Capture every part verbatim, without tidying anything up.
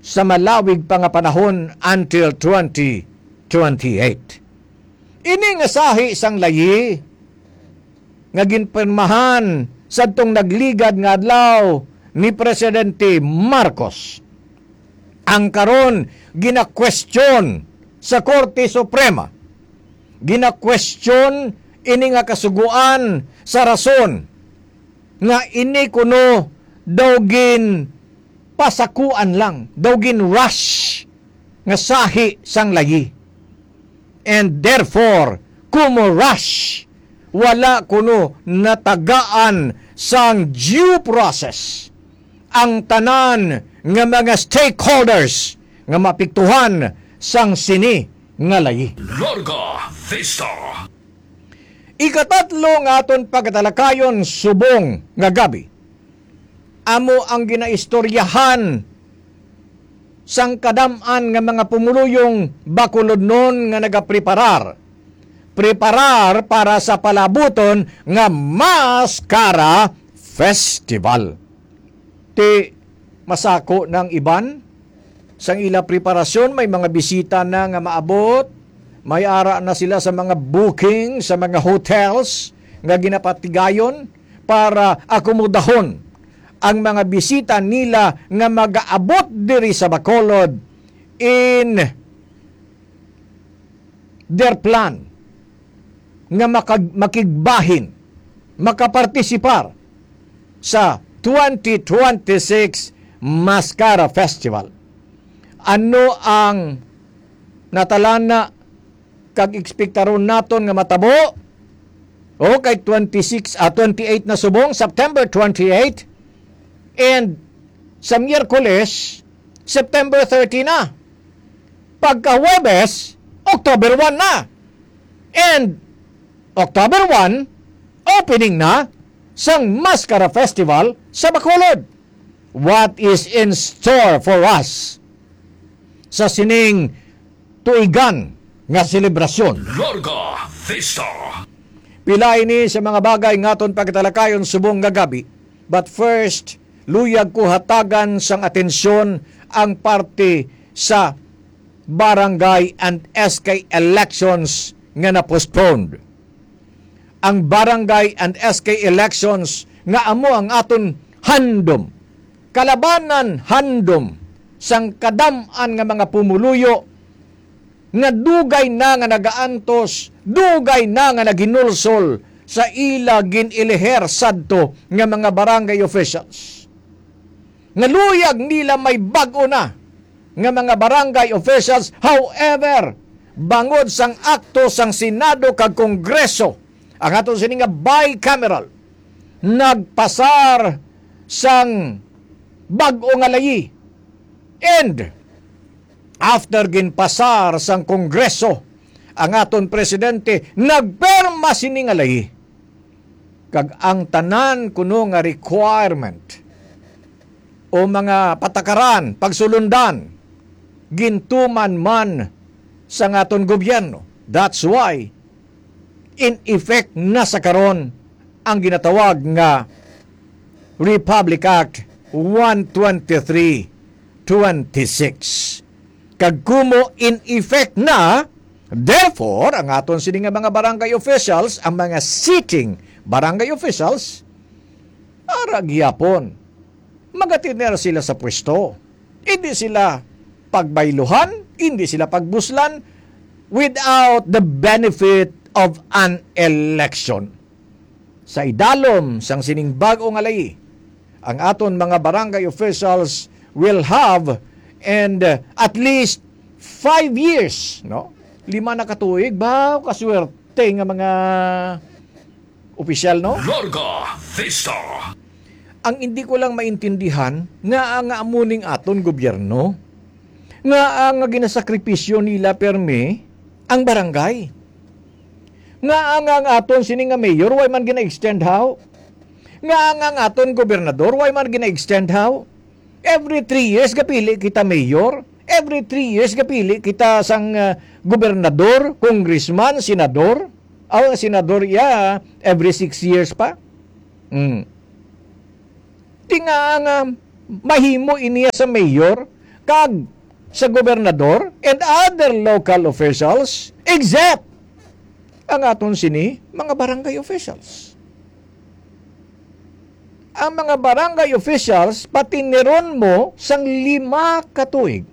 sa malawig pa nga panahon until twenty twenty-eight. Ini nga sahi sang layi nga ginpirmahan sadtong nagligad nga adlaw ni Presidente Marcos, ang karon ginakwestiyon sa Korte Suprema. Ginakwestiyon ini nga kasugoan sa rason nga ini kuno daw ginpasakuan lang, daw gin-rush nga sahi sang layi. And therefore, kumo rush, wala kuno natagaan sang due process ang tanan nga mga stakeholders nga maapektuhan sang sini nga layi. Larga Vista. Ikatatlo nga aton pagtalakayon subong nga gabi, amo ang ginaistoryahan sang kadam-an nga mga pumuluyong Bacolodnon nga nagapreparar, preparar para sa palabuton nga Mascara Festival. Ti masako na ang iban sang ila preparasyon, may mga bisita na nga maabot, may ara na sila sa mga booking sa mga hotels nga ginapatigayon para akomodahon ang mga bisita nila nga magaabot diri sa Bacolod in their plan nga makag-, makigbahin, makapartisipar sa twenty twenty-six Mascara Festival. Ano ang natalana kag ekspektaron naton nga matabo? O, kay twenty-six, ah, twenty-eight na subong, September twenty-eight. And sa Miyerkules, September thirty na. Pagka Huwebes, October one na. And October one, opening na sang Mascara Festival sa Bacolod. What is in store for us sa sining tuigan nga selebrasyon? Larga Vista. Pila ini sa mga bagay nga aton pagtalakayon subong nga gabi. But first, luyag ko hatagan sang atensyon ang parte sa barangay and S K elections nga na-postponed. Ang barangay and S K elections nga amo ang aton handom, kalabanan handom sang kadam-an nga mga pumuluyo nga dugay na nga nagaantos, dugay na nga naghinulsol sa ila gin-eleher sadto nga mga barangay officials. Nga luyag nila may bag-o na nga mga barangay officials. However, bangod sang akto sang Senado kag Kongreso, ang aton sini nga bicameral, nagpasar sang bag-o nga layi. And after ginpasar sang Kongreso, ang aton presidente nagpirma sini nga layi. Kag ang tanan kuno nga requirement o mga patakaran, pagsulundan, gintuman man sang aton gobyerno. That's why, in effect na sa karon ang ginatawag nga Republic Act one twenty-three twenty-six. Kag kumo in effect na, therefore, ang aton sini nga mga barangay officials, ang mga sitting barangay officials, ara gyapon, magatiner sila sa pwesto. Hindi sila pagbayluhan, hindi sila pagbuslan without the benefit of an election. Sa idalom sang sining bag-o nga layi, ang aton mga barangay officials will have and, uh, at least five years, no? Lima na ka tuig ba? Kaswerte nga mga opisyal, no? Larga Vista. Ang hindi ko lang maintindihan, nga nga amo ning aton gobyerno, nga ang ginasakripisyo nila permi ang barangay. Nga ang, ang aton sini nga mayor, why man gina-extend how? Nga ang, ang aton gobernador, why man gina-extend how? Every three years gapili kita mayor. Every three years gapili kita sang, uh, gobernador, congressman, senador. Aw, senador iya, every six years pa. Mm. Di nga nga mahimo iniya sa mayor, tag sa gobernador and other local officials, except ang aton sini mga barangay officials. Ang mga barangay officials, patiniron mo sang lima ka tuig.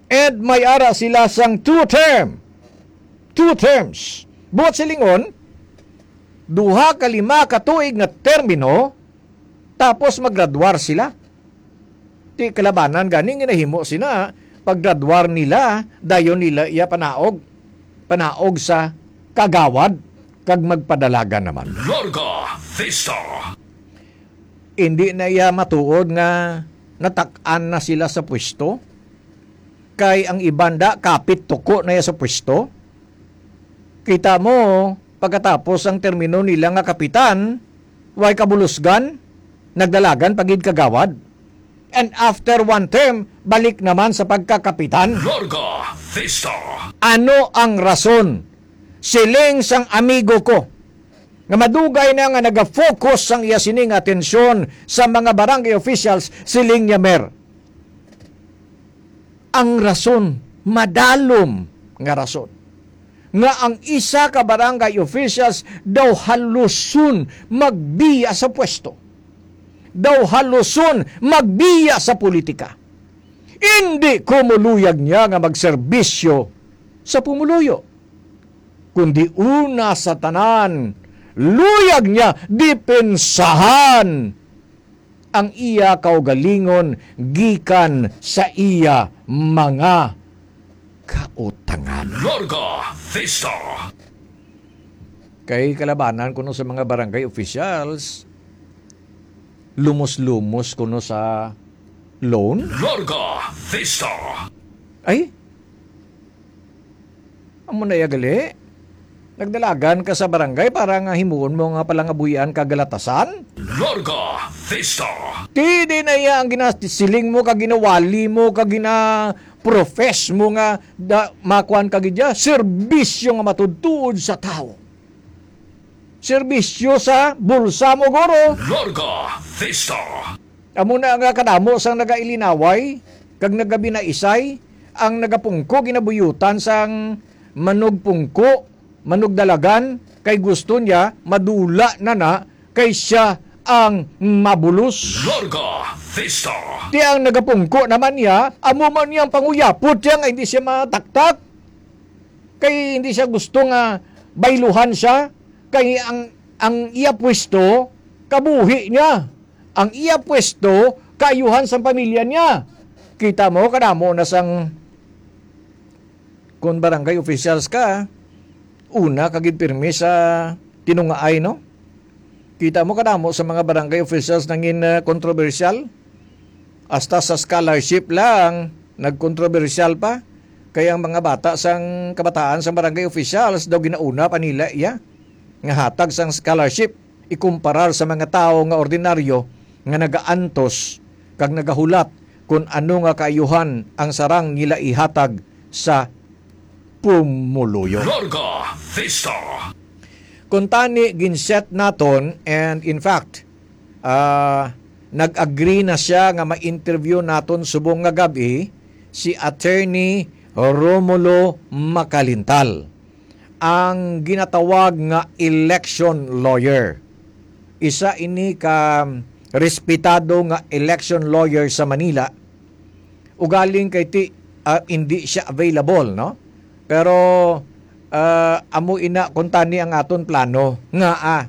And may ara sila sang two term. Two terms. Buot silingon, duha ka lima ka tuig nga termino, tapos maggraduar sila. Ti kalabanan gani nga nahimo sina, paggraduar nila, dayon nila iya panaog, panaog sa kagawad, kag magpadalagan naman. Larga Vista. Hindi na iya matuod nga natak-an na sila sa pwesto, kay ang iban da kapit tuko na iya sa pwesto. Kita mo, pagkatapos ang termino nila nga kapitan, way kabulusgan, nagdalagan pa gid kagawad. And after one term, balik naman sa pagkakapitan. Larga Vista. Ano ang rason? Siling sang amigo ko nga madugay na nga naga-focus sang iya sining atensyon sa mga barangay officials, siling niya, Mer. Ang rason, madalom nga rason, nga ang isa ka barangay officials daw haluson magbiya sa pwesto, daw haluson magbiya sa politika. Indi ko muluyag niya nga magserbisyo sa pumuluyo, kundi una sa tanan, luyag niya depensahan ang iya kaugalingon gikan sa iya mga kautangan. Larga Vista. Kay kalabanan kuno sa mga barangay officials, lumos-lumos kuno sa loan. Larga Vista. Ay, amo na iya gali. Nagdalagan ka sa barangay para nga himuon mo nga palangabuhian ka galatasan? Larga Vista. Ti di na iya ang ginasiling mo, kag ginawali mo, kag gina-profess mo nga da, makuan ka gid ya, serbisyo nga matudtuod sa tawo. Serbisyo sa bulsa mo, guro. Larga Vista. Amo na nga kadamo sang nagailinaway kag nagabinaisay, ang nagapungko ginabuyutan sang manugpungko, manugdalagan, kay gusto niya madula na na kay siya ang mabulos. Larga Vista. Ti ang nagapungko naman niya, amo man niyang panguyapot siya nga hindi siya mataktak. Kay hindi siya gusto nga bayluhan siya, kay ang, ang iya pwesto, kabuhi niya. Ang iya pwesto, kaayuhan sang pamilya niya. Kita mo, kadamo na sang, kung barangay officials ka, una ka gid pirmi sa tinungaay, no? Kita mo, kadamo sa mga barangay officials nangin, ah, kontrobersyal. Hasta sa scholarship lang, nagkontrobersyal pa. Kay ang mga bata sang kabataan sang barangay officials daw ginauna pa nila iya nga hatag sang scholarship, ikumparar sa mga tawo nga ordinaryo nga nagaantos kag nagahulat kon ano nga kaayuhan ang sarang nila ihatag sa pumuluyo. Larga Vista. Kuntani, ginset naton, and in fact, ah, nag-agree na siya nga ma-interview naton subong nga gab-i si Attorney Romulo Macalintal, ang ginatawag nga election lawyer. Isa ini ka respetado nga election lawyer sa Manila. Ugaling kay ti, ah, hindi siya available, no? Pero, ah, amo ina kuntani ang aton plano nga, ah,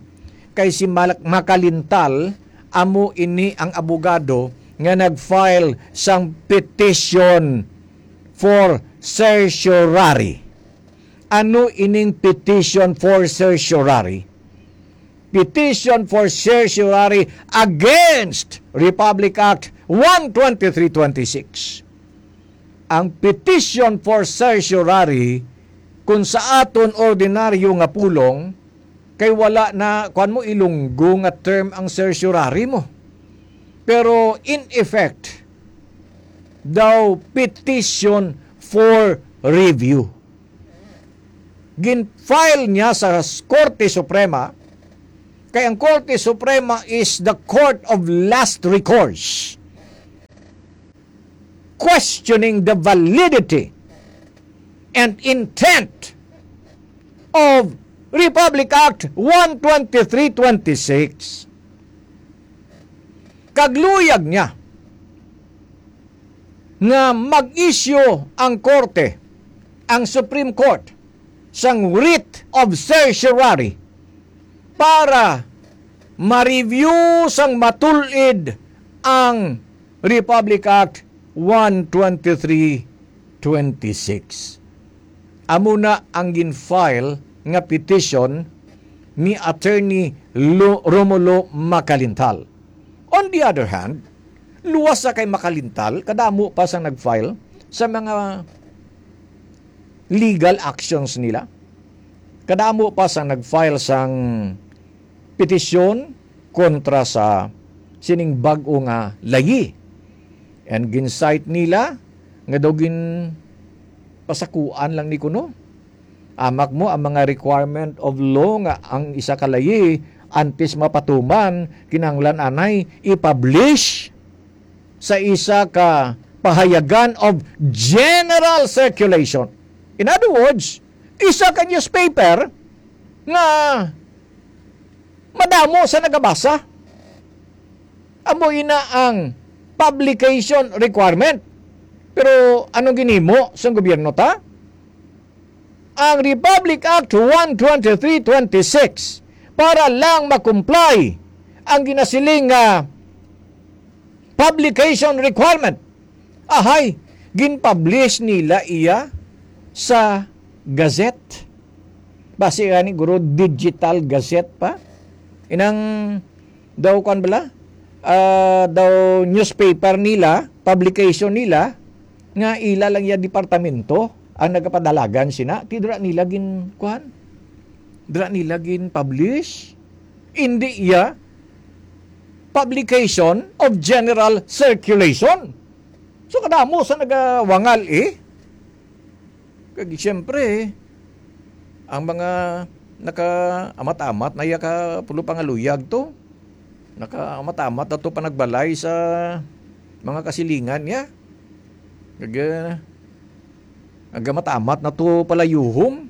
kay si Mal-, Macalintal, amo ini ang abogado nga nag-file sang petition for certiorari. Ano ining petition for certiorari? Petition for certiorari against Republic Act one twenty-three twenty-six. Ang petition for certiorari, kung sa aton ordinaryo nga pulong, kay wala na, kuwan mo, ilunggo nga term ang certiorari mo. Pero in effect, daw petition for review. Gin-file niya sa Korte Suprema, kay ang Korte Suprema is the court of last recourse. questioning the validity and intent of Republic Act one twenty-three twenty-six. Kagluyag niya nga mag-issue ang korte, ang Supreme Court, sang writ of certiorari para ma-review sang matulid ang Republic Act one twenty-three twenty-six. Amo na ang gin-file nga petition ni Attorney Lo-, Romulo Macalintal. On the other hand, luwas sa kay Macalintal, kadamo pa sang nag-file sa mga legal actions nila. Kadamo pa sang nag-file sang petisyon kontra sa sining bag-o nga layi. And gin-cite nila nga daw gin pasakuan lang ni kuno. Amak mo ang mga requirement of law nga ang isa ka layi antes mapatuman, kinahanglan anay i-publish sa isa ka pahayagan of general circulation. In other words, isa ka newspaper nga madamo sa nagabasa. Amo ina ang publication requirement. Pero anong ginhimo sang gobyerno ta? Ang Republic Act one twenty-three twenty-six para lang ma-comply ang ginasiling nga publication requirement. Ahay, gin-publish nila iya sa gazette. Basi gani, guro, digital gazette pa. Inang daw, kwan bala, ah, daw newspaper nila, publication nila, nga ila lang ya departamento ang nagapadalagan sina. Ti dira nila gin, kwan? Dira nila gin-publish? Indi ya publication of general circulation. So, kadamo sa nagawangal, eh. Kag siyempre, ang mga naka-amat-amat na iya ka pulo pangaluyag to, naka-amat-amat na to panagbalay sa mga kasilingan niya. Kag, ah, nagamat-amat na to palayuhom.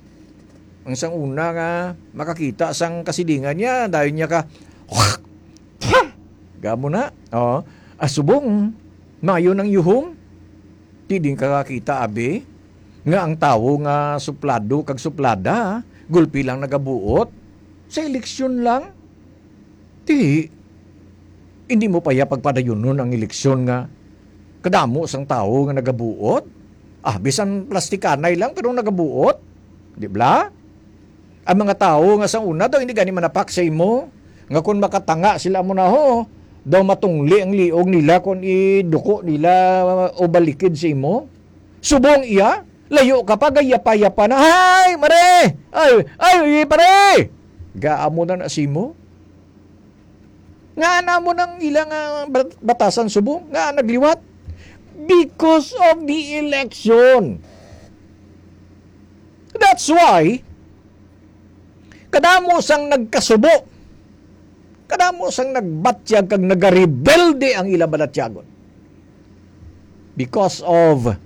Ang sang una nga makakita sang kasilingan niya, dayon niya ka, gamo na. Oh, asubong, mayo nang yuhom. Ti din ka kakita, abi, nga ang tawo nga suplado kag suplada, gulpi lang nagabuot sa eleksyon lang. Ti, hindi mo pa ya pagpadayunon ang eleksyon nga kadamo sang tawo nga nagabuot. Ah, bisan plastikanay lang pero nagabuot, di bala? Ang mga tawo nga sa una daw hindi gani manapak sa imo, nga kung makatanga sila mo na ho, daw matungli ang liog nila kung iduko nila o balikid sa imo. Subong iya, layo ka pa, gayapa-yapa na, "Ay, mare! Ay, ay, pare!" Gaamo na na sa imo. Nga na mo nang ilang ah, bat- batasan subong, nga nagliwat. Because of the election. That's why, kadamo sang nagkasubo. Kadamo sang nagbatyag kag nagarebelde ang ilang balatyagon. Because of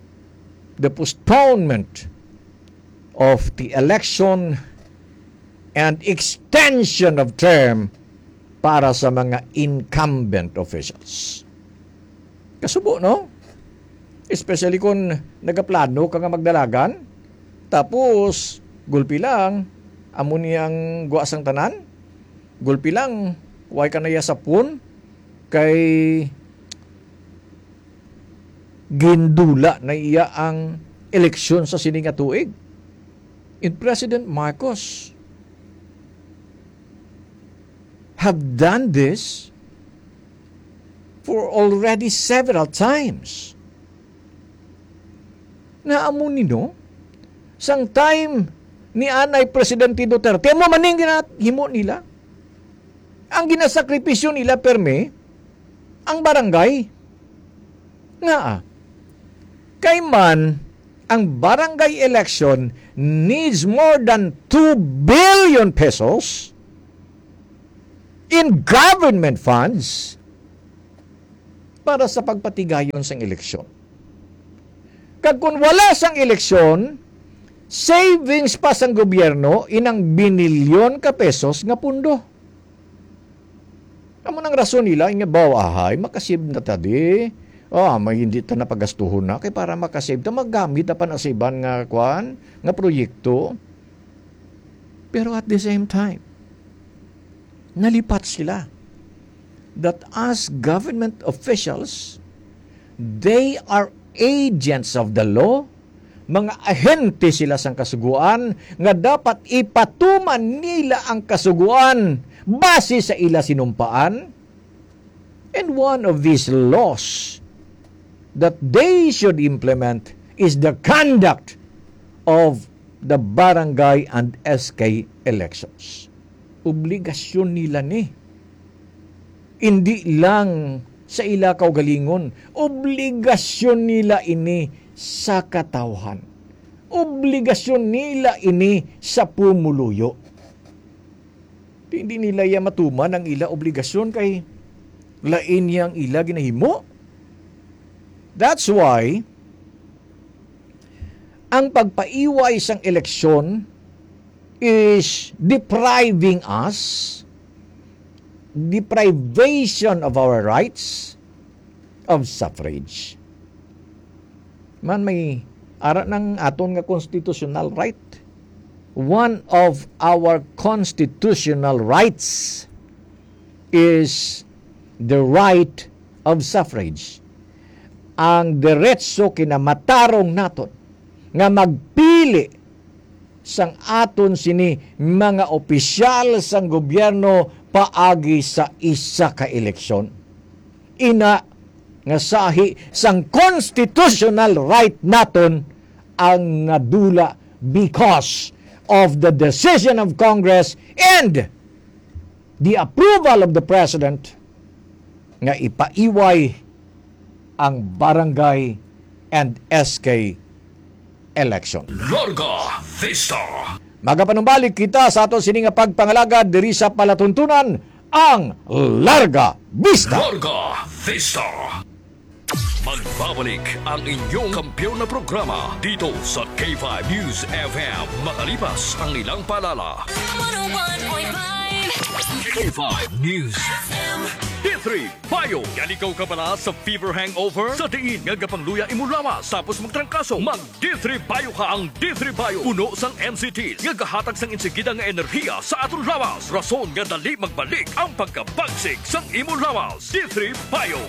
the postponement of the election and extension of term para sa mga incumbent officials. Kasubo, no? Especially kung nagaplano ka nga magdalagan, tapos gulpi lang, amo ni ang guwa sang tanan, gulpi lang, way ka na iya sapon, kay gindula na iya ang eleksyon sa sini nga tuig. And President Marcos have done this for already several times. Nga amo ni, no? Sang time ni anay Presidente Duterte, amo man ning ginahimo nila. Ang ginasakripisyo nila, permi, ang barangay. Nga, kay man, ang barangay election needs more than two billion pesos in government funds para sa pagpatigayon sang eleksyon. Kag kung wala sang eleksyon, savings pa sang gobyerno inang binilyon ka pesos nga pundo. Amo nang rason nila nga baw ahay, makasave na ta di. Ah, may hindi ta napagastuhon na kay para makasave ta, magamit na pa na sa iban nga kwan, nga proyekto. Pero at the same time, nalipat sila that as government officials, they are agents of the law, mga ahente sila sang kasugoan nga dapat ipatuman nila ang kasugoan base sa ila sinumpaan. And one of these laws that they should implement is the conduct of the barangay and S K elections. Obligasyon nila ni. Hindi lang sa ila kaugalingon, obligasyon nila ini sa katawhan. Obligasyon nila ini sa pumuluyo. Di, hindi nila iya matuman ang ila obligasyon kay lain niya ang ila ginahimo. That's why ang pagpaiway sang eleksyon is depriving us, deprivation of our rights of suffrage. Man, may ara nang aton nga constitutional right. One of our constitutional rights is the right of suffrage. Ang diretso kinamatarong naton nga magpili sang aton sini mga opisyal sang gobyerno paagi sa isa ka eleksyon. Ina nga sahi sang constitutional right naton ang nadula because of the decision of Congress and the approval of the President nga ipaiway ang barangay and S K election. Larga Vista. Magapanumbalik kita sa aton sini nga pagpangalagad diri sa palatuntunan, ang Larga Vista. Larga Vista. Magbabalik ang inyong kampiyon na programa dito sa K five News F M, makalipas ang ilang paalala. One oh one point five K five News F M. D three Bio. Yan ikaw kabala sa fever hangover? Sa diin nga gapangluya imo lawas tapos magtrangkaso, mag D three Bio ka. Ang D three Bio puno sang N C T nga gahatag sang insigida nga enerhiya sa aton lawas, rason nga dali magbalik ang pagkabagsik sang imo lawas. D three Bio.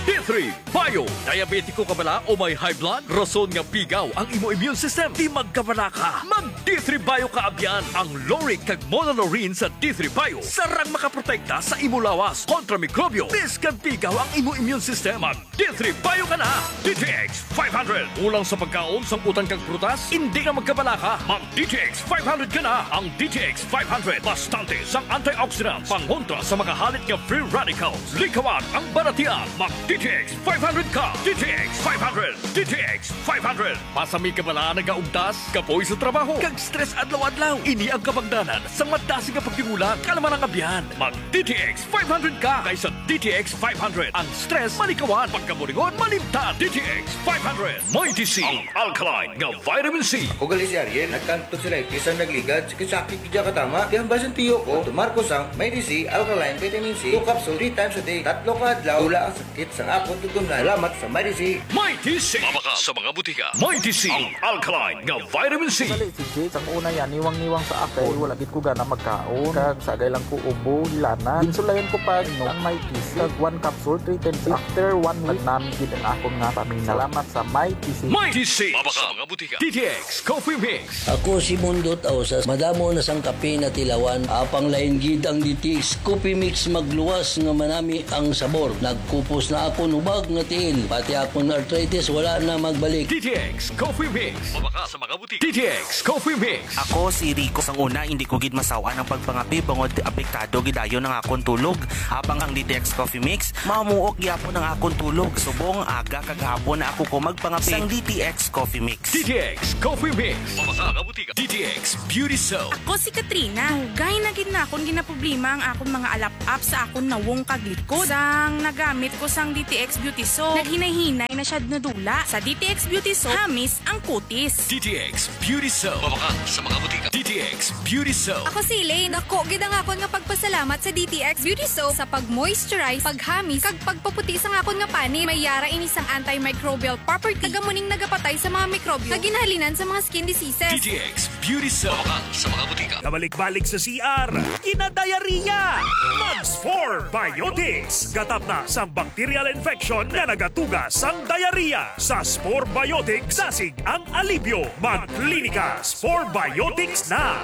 D three Bio. Diabetiko ka bala o may high blood? Rason nga pigaw ang imo immune system? Di magkabala ka. Mag D three Bio ka abyan. Ang lauric kag monolaurin sa D three Bio sarang makaprotekta sa imo lawas kontra mikrobyo. Biskag pigaw ang imo immune system, mag D three Bio ka na. D T X five hundred. Kulang sa pagkaon, sangkutan kag prutas? Hindi na magkabala ka. Mag D T X five hundred ka na. Ang D T X five hundred, bastante sang antioxidants, pangontra sa mga halit nga free radicals. Likawan ang balatian. Mag D T X five hundred ka. D T X five hundred. D T X five hundred. Pasami ka bala nagaugtas, kapoy sa trabaho, kag stress adlaw-adlaw? Ini ang kabangdanan sang madasig nga pagtimulan, kalman ang abyan. Mag D T X five hundred ka, kay sa D T X five hundred, ang stress malikawan, pagkaburingon malimtan. D T X five hundred. Mighty C, ang alkaline nga vitamin C. Ako gali si Ariel, nagkantog sa lightis ang nagligad, sakit-sakit gid ka tama. Kaya ang basin tiyo ko, tumar ko sang Mighty C, alkaline vitamin C, two capsule, three times a day, tatlo ka adlaw, wala ang sakit sang akon tutunlan. Salamat sa Mighty C. Mighty C. Mabaka sa mga butika. Mighty C, ang alkaline nga vitamin C. Gali si Jake, sang una yan, niwang-niwang sa akon. Wala gid ko gana magkaon. Kag sagay lang ko ubo, hilanat. Ginsulayan ko pa, no, ang Mighty C. Kag one capsule, three times. After one week, nagnami gid ang akon nga pamina. Salamat sa Mighty C. Mighty C. Mabaka sa mga butika. D T X Coffee Mix. Ako si Mundot Ausas. Madamo na sang kape na tilawan. Apang lain gid ang D T X Coffee Mix, magluwas nga manami ang sabor. Nagkupos na akon hubag nga tiil. Pati akon arthritis wala na magbalik. D T X Coffee Mix. Mabaka sa mga butika. D T X Coffee Mix. Ako si Rico. Sang una, hindi ko gid masaw-an ang pagpangape bangod apektado gid dayon ang akon tulog. Apang ang D T X Coffee Mix, mamuok gyapon ang akon tulog. Subong aga kag hapon na ako ko magpangape sang D T X Coffee Mix. D T X Coffee Mix. Mabaka sa mga butika. D T X Beauty Soap. Ako si Katrina. Dugay na gid na akon ginaproblema ang akon mga alap-ap sa akon nawong kag likod. Sang nagamit ko sang D T X Beauty Soap. Naghinay-hinay na siya nadula. Sa D T X Beauty Soap, hamis ang kutis. D T X Beauty Soap. Mabakal sa mga butika. D T X Beauty Soap. Ako si Elaine. Dako gid ang akon nga pagpasalamat sa D T X Beauty Soap sa pag-moisturize, paghamis, kag pagpaputi sang akon nga panit. May yara ini sang antimicrobial property. Taga mo ning nagapatay sa mga mikrobyo nga ginahalinan sa mga skin diseases. D T X Beauty Soap. Mabakal sa mga butika. Kabalik-balik sa C R, kinadayariya. Mag Spore Biotics. Gatap na sang bacterial infection nga nagatuga sang diarrhea. Sa Spore Biotics, dasig ang alibyo. Mag Klinika Spore Biotics na.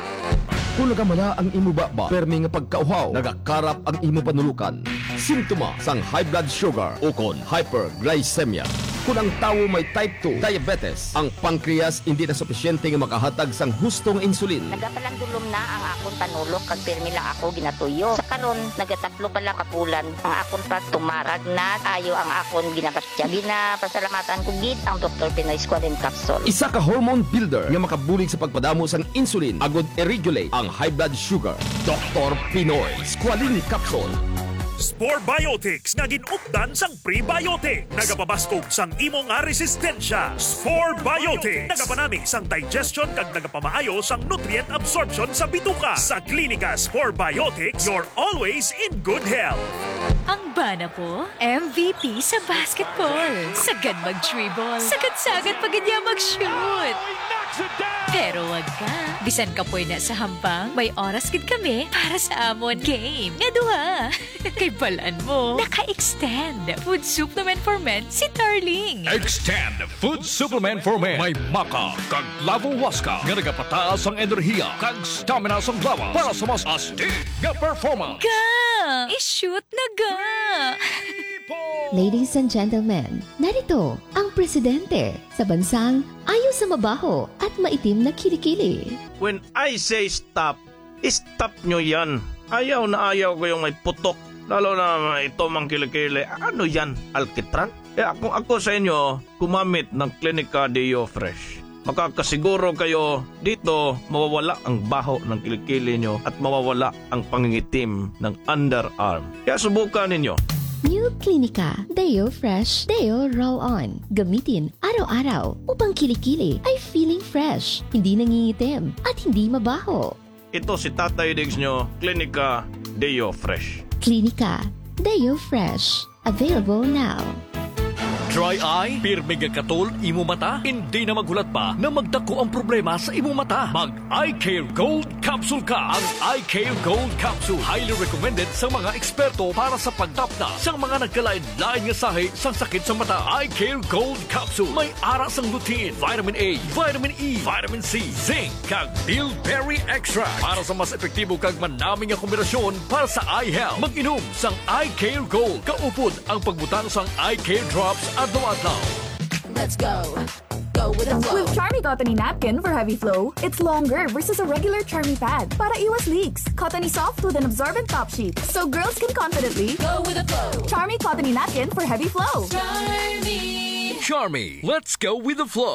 Kung nagamala ang imo baba, permi nga pagkauhaw, nagakarap ang imo panulokan, simptoma sang high blood sugar ukon hyperglycemia. Kung ang tawo may type two diabetes, ang pancreas indi na supisyente nga makahatag sang husto nga insulin. Nagapalandulom na ang akon panulok kag pirmi lang ako ginatuyo. Sa karon, nagatatlo pa lang ka bulan ang akon pagtumarag na ayo ang akon ginabastya. Ginapasalamatan ko gid ang Doktor Pinoy Squalene Capsule. Isa ka hormone builder nga makabulig sa pagpadamo sang insulin agud i-regulate ang high blood sugar. Doktor Pinoy Squalene Capsule. Spore Biotics nga gin-updan sang prebiotic. Nagapabaskog sang imo nga resistensya. Spore Biotics. Nagapanami sang digestion kag nagapamaayo sang nutrient absorption sa bituka. Sa Klinika Spore Biotics, you're always in good health. Ang bana ko, M V P sa basketball. Sagad mag-dribble. Sagad-sagad pa gid niya mag-shoot. Pero wag ka. Bisan kapoy na sa hampang, may oras gid kami para sa amon game nga duha. Kay balan mo, naka-extend Food Supplement for Men si Tarling. Extend Food Supplement for Men. May maca kag lavo huasca nga nagapataas ang enerhiya kag stamina sang lawas para sa mas astig nga performance. Ga! I-shoot na ga! Ladies and gentlemen, narito ang presidente sa bansang ayo sa mabaho at maitim na kilikili. When I say stop, stop nyo yan. Ayaw na ayaw ko yung may putok. Lalo na ito mang kilikili. Ano yan? Alkitran? Kaya kung ako sa inyo, gumamit ng Clinica Deo Fresh. Makakasiguro kayo dito mawawala ang baho ng kilikili nyo at mawawala ang pangingitim ng underarm. Kaya subukan ninyo. New Clinica Deo Fresh Deo Roll On. Gamitin araw-araw upang kilikili ay feeling fresh, hindi nangingitim, at hindi mabaho. Ito si Tatay Diggs nyo, Clinica Deo Fresh. Clinica Deo Fresh. Available now. Dry eye? Pirmi nga katol imo mata? Hindi na maghulat pa na magdako ang problema sa imo mata. Mag Eye Care Gold Capsule ka. Ang Eye Care Gold Capsule highly recommended sa mga eksperto para sa pagtapna sa mga nagkalain-lain nga sahi sang sakit sa mata. Eye Care Gold Capsule may ara sang lutein, vitamin A, vitamin E, vitamin C, zinc, kag bilberry extract para sa mas epektibo kag manami nga kombinasyon para sa eye health. Mag-inom sang Eye Care Gold. Kaupod ang pagbutang sang Eye Care Drops adlaw-adlaw. Let's go. Go with the flow. With Charmy Cottony Napkin for Heavy Flow, it's longer versus a regular Charmy pad para iwas leaks. Cottony soft with an absorbent top sheet, so girls can confidently go with the flow. Charmy Cottony Napkin for Heavy Flow. Charmy. Charmy, let's go with the flow.